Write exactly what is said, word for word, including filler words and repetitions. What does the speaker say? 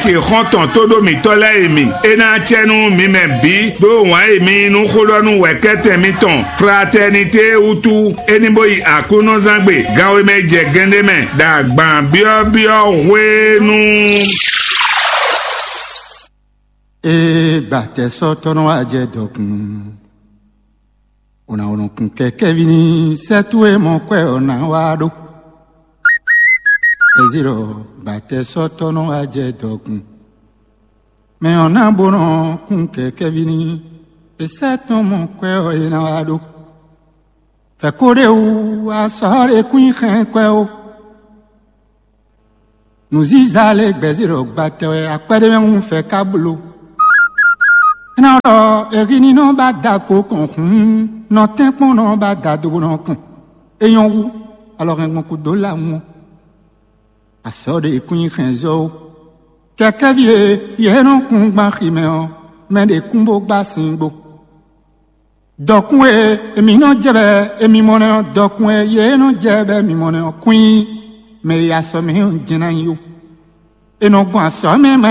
ce xɔ́ntɔn tóɖó mǐtɔn lɛ́ɛ e mì. É ná acɛ nú mi mɛ bǐ ɖó wǎn e mi yí nú xó ɖɔ nú wɛ̌kɛ́tɛn mitɔn Fraternité wútu. É ní bó yi Aklúnɔzángbe ganwe mɛ jɛ gɛ́nɖé mɛ ɖo agban byɔ́byɔ́ hwenu. Ee, gbàtɛ́sɔ́tɔ́ nɔ wá jɛ dɔkun. Ò nǎ nɔ kun kɛkɛ́ví ní sɛ́ towe mɔ kwɛ ɔ́ ná wá ɖó. Ezíɖɔ gbàtɛ́sɔ́tɔ́ nɔ wá jɛ dɔkun. Mɛ ɔ́ ná bó nɔ kun kɛkɛ́ví ní è sɛ́ tɔn mɔ kwɛ ɔ́ é ná wá ɖó. Fɛ̌ ko ɖé wú a sɔ́ ɖé kún nyi xɛn kwɛ ó. Nǔzíza lɛ́ɛ gbɛ̌ zé ɖɔ gbatɛ wɛ akwɛ́ ɖé mɛ hún fɛ ká bló. É ná ɖɔ èhíní nɔ ba da ko kɔn hǔn, nɔ tɛ́nkpɔ́n nɔ ba da do bó nɔ kɔn. É nyɔ́ hú, alɔ hɛn gbɔn kúdó lawun ɔ́. Azɔ̌ ɖé kún nyi hɛnzɔ́ ó. Kɛkɛ́ví e yě nɔ kún gbán xi mɛ ɔ́, mɛ ɖě kún bó gbá sin gbo. Dɔkun e èmi nɔ jɛ bɛ èmi mɔ nɛ́ ɔ́, dɔkun e yě nɔ jɛ bɛ mi mɔ nɛ́ ɔ́, kwín mɛ e asɔ mɛ ɔ́ jɛ́n ná nyí ó. È nɔ gbɔn asɔ mɛ ma